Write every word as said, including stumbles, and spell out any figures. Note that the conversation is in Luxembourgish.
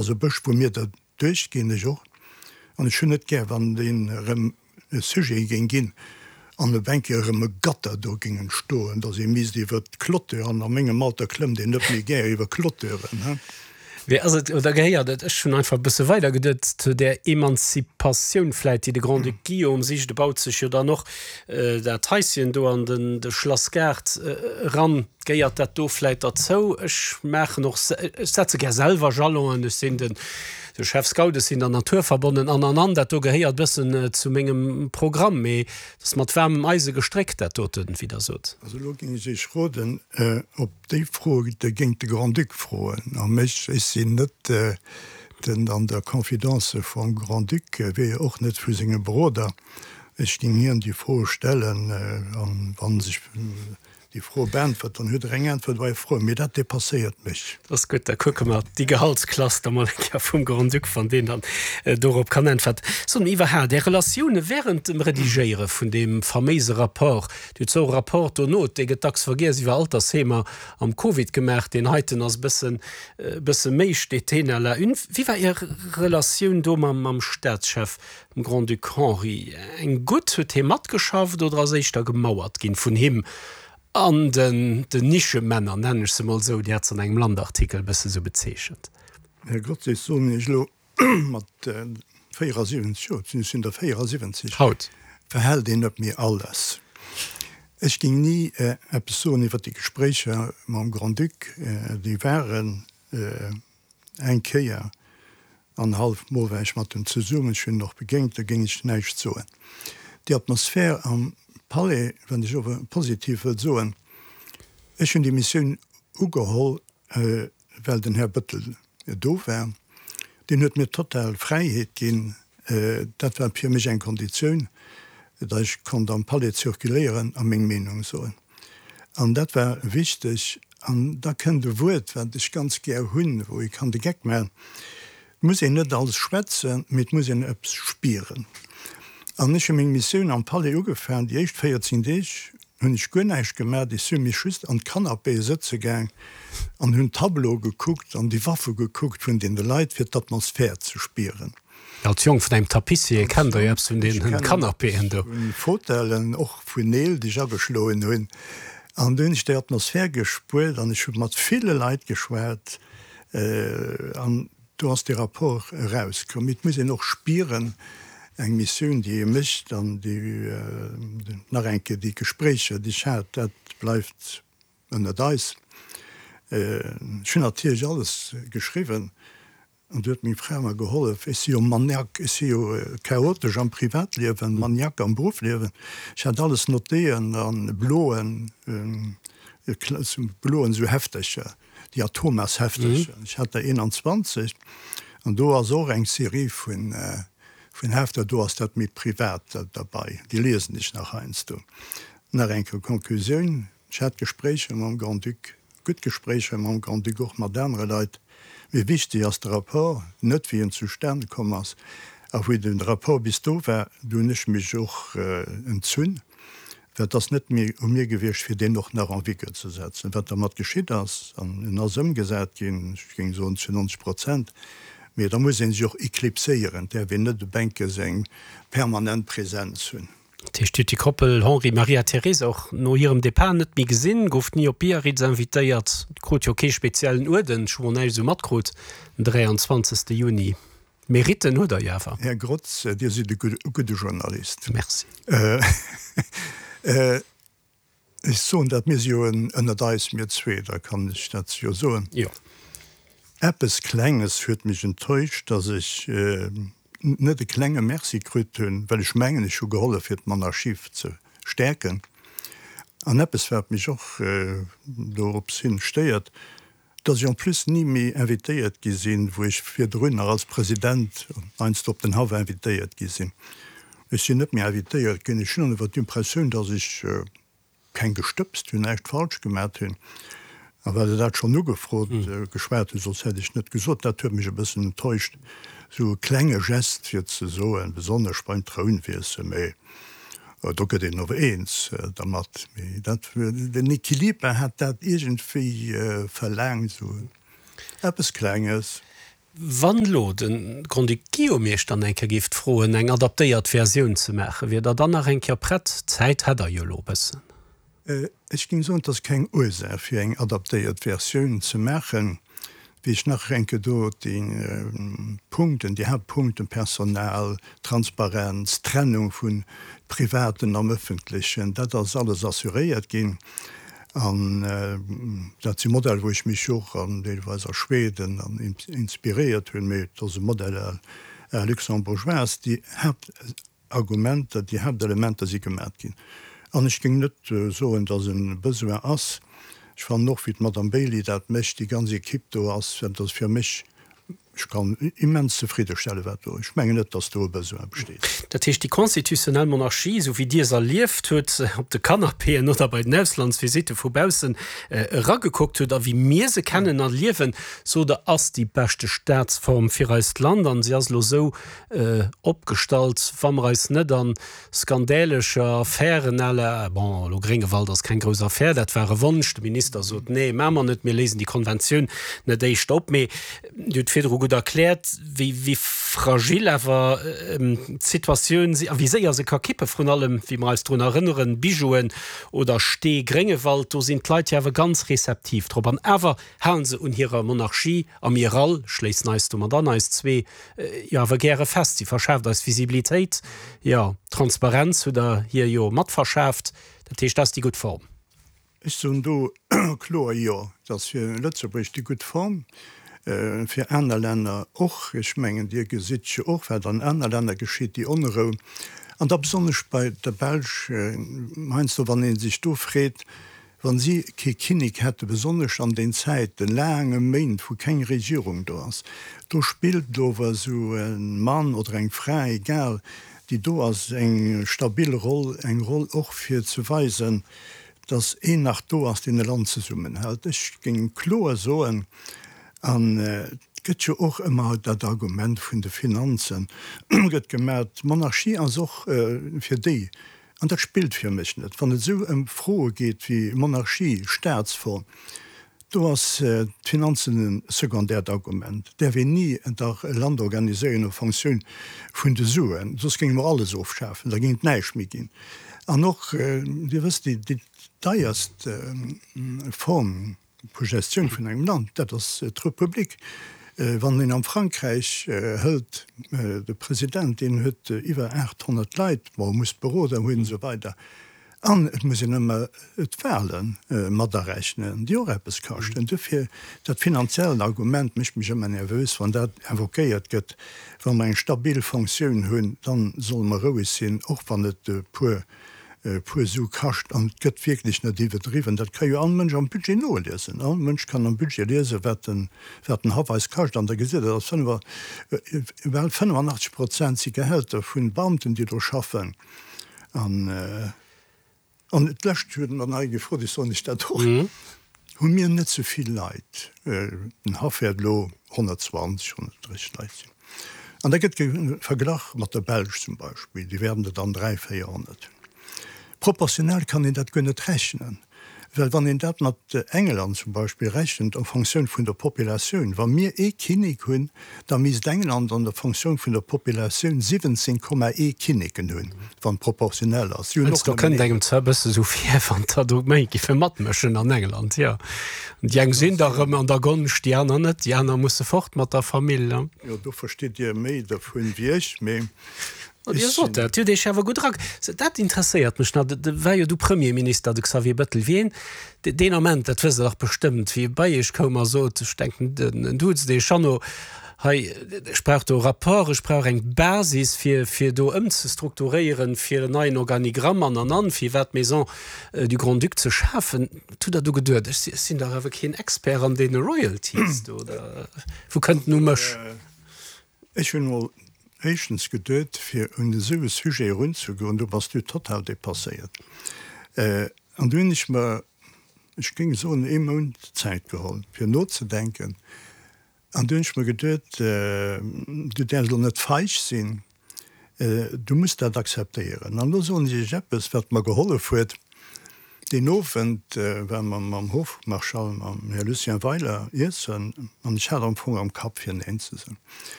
Ass e Bësch, wou mir derduerch ginn, ech och. An ech hunn net gär, wann deen erëm e Sujet géing ginn an op eng Kéier erëm e Gatter do géing entstoen, datt ee misst iwwer d'Clôture, an a mengem Alter klëmmt een net méi gär iwwer Clôturen, he. Mee ass et, oder gehéiert et, ech hunn einfach e bësse weider geduet, zu där Emanzipatioun vläit, déi de Grand-Duc Guillaume sicht? E baut sech jo dann och dat Haischen do an den de Schlassgaart eran. Gehéiert dat do vläit derzou? Ech maachen och, ech setze gär selwer Jalonen, ech sinn den de Chef Scout, ech sinn der Natur verbonnen an an an. Dat do gehéiert e bëssen zu mengem Programm. Mee et ass mat waarmem Eise gestréckt, dat doten, wéi Der sot. Also elo géing ech Iech roden, op déi Fro, Der géingt de Grand-Duc froen a mech. Ech sinn net den an der Confidence vum Grand-Duc, wéi och net vu senge Beroder. Ech géing hien déi Fro stellen, an wa sech déi Fro beäntwert, dann huet Der eng Äntwert op Är Fro. Mee dat dépasséiert mech. Dat ass gutt, da kucke mer déi Gehaltsklass da mol eng Kéier vum Grand-Duc, wann deen dann dorop kann äntwerten. Soen, iwwerhaapt Är Relatioune während dem Redigéiere vun deem faméise Rapport, Dir hutt zwou Rapport dono, dee gëtt dacks vergiess, iwwer Altersheemer am Covid gemaach, deen heiten ass e bëssen, e bësse méi, steet deen à la une. Wéi war Är Relatioun do mam, mam Staatschef, dem Grand-Duc Henri? Eng gutt? Huet hie matgeschafft oder ass éischter gemauert ginn vun him an den, den Nischemänner, nennen ech se mol esou? Dir hat se an engem Land-Artikel e bësse sou bezeechent. Här Grotz, ech soen Iech elo mat véierasiwwenzeg Joer, ech sinn der véierasiwwenzeg, Haut. Verhält een net méi alles. Ech géing ni eppes soen iwwer déi Gespréicher mam Grand-Duc. Déi waren eng Kéier an hallef Mol war ech mat em zesummen, ech hunn en och begéint, do géing ech näischt soen. Déi Atmosphär am Palais, wat ech ower positiv wëll soen, ech hunn déi Missioun ugeholl, well den Här Bettel do war. Deen huet mir total Fräiheet ginn. Dat war fir mech eng Konditioun, datt ech konnt am Palais zirkuléieren a meng Meenung soen. An dat war wichteg. An da kënnt e Wuert, wat ech ganz gär hunn, wou ee kann de Geck maachen, Et muss een net alles schwätzen, mee et muss een eppes spieren. An ech hu meng Missioun am Palais ugefaangen. Déi éischt véierzéng Deeg hunn ech guer näischt gemaach. Ech si mech just an d'Canapéë sëtze gaang an hunn d'Tableaue gekuckt an déi Waffe gekuckt vun deene Leit, fir d'Atmosphär ze spieren. Als Jong vun engem Tapissier kennt Der jo eppes vun deenen Canapéen do. Vun Fauteuilen, och vun Neel, déi ech ageschloen hunn. An do hunn ech déi Atmosphär gespuert an ech hu mat ville Leit geschwat. An do ass dee Rapport erauskomm. Mee et muss een och spieren, eng Missioun, déi ee mécht an déi, nach eng Kéier, déi Gespréicher, déi ech hat, dat bleift ënnert eis. Ech hunn natierlech alles geschriwwen an do huet meng Fra mer gehollef. Ech si jo Maniac, ech si jo chaotesch am Privatliewen, Maniac am Beruffliewen. Ech hat alles notéieren a bloen, bloen esou Heftercher, déi Atomas-Heftercher. Ech hat der eenanzwanzeg an do ass och eng Serie vun vun Hefter, do ass dat méi privat derbei, déi liesen ech nach heiansdo. Nach eng Kéier Conclusioun, Ech hat Gespréicher mam Grand-Duc, gutt Gespréicher mam Grand-Duc, och mat anere Leit. Mee wichteg ass de Rapport, net wéi en zustane komm ass. A wéi de Rapport bis do war, do hunn ech mech och entzunn, well et ass net méi u mir gewiescht, fir deen och nach en vigueur ze setzen. Wat dermat geschitt ass, an en ass ëmgesat ginn, ech géing soen zu nonzeg Prozent, mee da muss ee sech och eclipséieren, et däerf een net op enke's eng permanent Präsenz hunn. Dat heescht, Dir hutt déi Koppel Henri, Maria Teresa och no hirem Depart net méi gesinn, gouft ni op Biarritz invitéiert, krut jo kee speziellen Uerden, ech hu mol näischt esou matkrut, den dräianzwanzegste Juni. Meritten huet Der jo awer. Här Grotz, Dir sidd e gudde Journalist. Merci. Ech soen dat, mir si jo ënnert eis, mir zwee, da kann ech dat jo soen. Jo. Eppes Klenges huet mech enttäuscht, dass ech net e klenge Merci krut hunn, well ech mengen, ech hu gehollef fir d'Monarchie ze stäerken. An eppes, wat mech och dorops hin stéiert, dass ech en plus ni méi invitéiert gi sinn, wou ech virdrun nach als President heiansdo op den Haff invitéiert gi sinn. Ech sinn net méi invitéiert ginn. Ech hunn awer d'Impressioun, dass ech keng gestëbst hunn, näischt falsch gemat hunn. A well Der dat schonn ugefrot geschwat hutt, soss hätt ech net gesot, dat huet mech e bëssen enttäuscht, esou e klenge Gest fir ze soen, besonnesch beim Trounwiessel, mä do gëtt een ower eens dermat, mee dat, den Equiliber hat dat iergendwéi verlaangt, esou eppes Klenges. Wann elo de Grand-Duc Guillaume Iech dann eng Kéier géif froen, eng adaptéiert Versioun ze maachen, wier Der dann nach eng Kéier prett? Zäit hätt Der jo elo e bëssen. Ech géing soen, et ass keng Ursaach, fir eng adaptéiert Versioun ze maachen. Wéi ech nach eng Kéier do déi Punkten, déi Haaptpunkten, Personal, Transparenz, Trennung vun Privaten am Ëffentlechen, dat ass alles assuréiert ginn. An dat si Modeller, wou ech mech och an deelweis a Schweden an inspiréiert hunn, mee et ass e Modell à la luxembourgeoise. Déi Haaptargumenter, déi Haaptelementer si gemat ginn. An ech géing net soen, datt e Besoin ass. Ech fannen och, wéi d'Madame Bailey dat mécht, déi ganz Equipe do ass, dat ass fir mech Ech kann immens zefriddestellen, wat do. Ech mengen net, dass do e Besoin besteet. Dat heescht, déi constitutionnel Monarchie, esou wéi Dir se erlieft hutt, op de Canapéen oder bei den Auslandsvisitte vu baussen eragekuckt hutt, a wéi mir se kennen a liewen, sot Der, ass déi beschte Staatsform fir eist Land. An si ass elo esou opgestallt, wa mer eis net a skandäleger Affären à la, bon, elo Gréngewald ass keng grouss Affär, dat war e Wonsch, de Minister sot, nee, maache mer net, mir léisen déi Konventioun net éischter op, mee Dir hutt virdru gutt erkläert, wéi, wéi fragil awer d'Situatioun si a wéi séier se ka kippen, vrun allem, wéi mer eis drun erënneren, Bijouen oder Stee Gréngewald, do sinn d'Leit jo awer ganz rezeptiv drop. An awer halen se un hirer Monarchie, a mir all schléissen eis domat an, eis zwee jo awer gäre fest. Si verschaaft eis Visibilitéit, jo, Transparenz hutt Der hir jo mat verschaaft. Dat heescht, dat ass déi gutt Form. Ech soen do kloer Jo. Et ass fir Lëtzebuerg déi gutt Form, fir aner Länner och. Ech mengen, Dir gesitt jo och, wat an aner Länner geschitt, déi Onrou, an da besonnesch bei der Belsch heiansdo, wann ee sech do freet, wa si kee Kinnek hätte, besonnesch an den Zäiten, laange Méint, wou keng Regierung do ass, do spillt ower esou e Mann oder eng Fra, egal, déi do ass, eng stabil Roll, eng Roll och fir ze weisen, dass een nach do ass, deen e Land zesummenhält. Ech géing kloer soen, an et gëtt jo och ëmmer dat Argument vun de Finanzen gëtt gemaat, d'Monarchie ass och fir déi, an dat spillt fir mech net, wann et esou ëm Froe geet wéi Monarchie, Staatsform, do ass d'Finanzen e sekondäert Argument. Et däerf een ni dach e Land organiséieren en Fonctioun vun de Suen, soss géinge mer alles ofschafen, da géing et näischt méi ginn. An och, Dir wësst, déi deierst Form vu Gestioun vun engem Land, dat ass d'Republik. Wann een am Frankräich hëlt, de President, deen huet iwwer aacht honnert Leit, bon, muss Beroder hunn, esou weider. An et muss een ëmmer d'Wahle mat arechnen, déi och eppes kaschten. Dofir, dat finanziellt Argument mécht mech ëmmer nervös, wann dat invoquéiert gëtt. Wa mer eng stabil Fonctioun hunn, da solle mer roueg sinn, och wann et e puer e puer Su kascht, an et gëtt wierklech net iwwerdriwwen, dat ka jo all Mënsch am Budget noliesen, all Mënsch kann am Budget liesen, wat den, wat den Haff eis kascht, an da gesitt Der, dass fënnef, bal fënnefanachteg Prozent si Gehälter vun Beamten, déi do schaffen. An, an d'lescht huet mer nach ee gefrot, ech soen lech dat och, Hu mir net ze vill Leit? Den Haff wäert elo honnertzwanzeg, honnertdrësseg Leit sinn. An da gëtt verglach mat der Belsch zum Beispill, déi wäerten der dann dräi, véierhonnert hunn. Proportionell kann een dat guer net rechnen, well wann een dat mat England zum Beispill rechent en Fonctioun vun der Populatioun, wa mir ee Kinnek hunn, da misst England an der Fonctioun vun der Populatioun siwwenzéng Komma ee Kinneken hunn, wann et proportionell ass. Si hunn och Do nëmmen kënnt een. engem zwar e bësse sou vir, wann der do méi giffe matmëschen an England, jo. Déi eng sinn da rëm an der Gonscht, déi aner net, déi aner musse fort mat der Famill. Jo, do verstitt Dir méi dervun wéi ech, mee Oh, Dir sot dat, Dir hutt Iech awer gutt era. Dat interesséiert mech nach, et war jo du Premierminister, de Xavier Bettel, wien deen Ament, dat wësst Der dach bestëmmt, wéi e bei Iech koum a sot, ech denken, en duuzt Iech, Jeannot, hei, ech brauch do e Rapport, ech brauch eng Basis, fir, fir do ëmzestrukturéieren, fir en neien Organigramm an, an, an, fir iwwer d'Maison du Grand-Duc ze schafen. Wat hutt Der do geduet? Ech sinn dach awer keen Expert an deene Royalties do, oder wou kënnt en u mech? Ech hunn emol éischtens geduet, fir un esou e Sujet erunzegoen, do bass du total dépasséiert. An du hunn ech mer, ech géing soen, ee Mount Zäit geholl, fir nozedenken. An du hunn ech mer geduet, du däerfs elo net feig sinn, du muss dat akzeptéieren. An elo soen ech iech eppes, wat mer gehollef huet. Deen Owend ware mer mam Hofmarschall, mam Här Lucien Weiler iessen, an ech hat am Fong am Kapp fir Neen ze soen.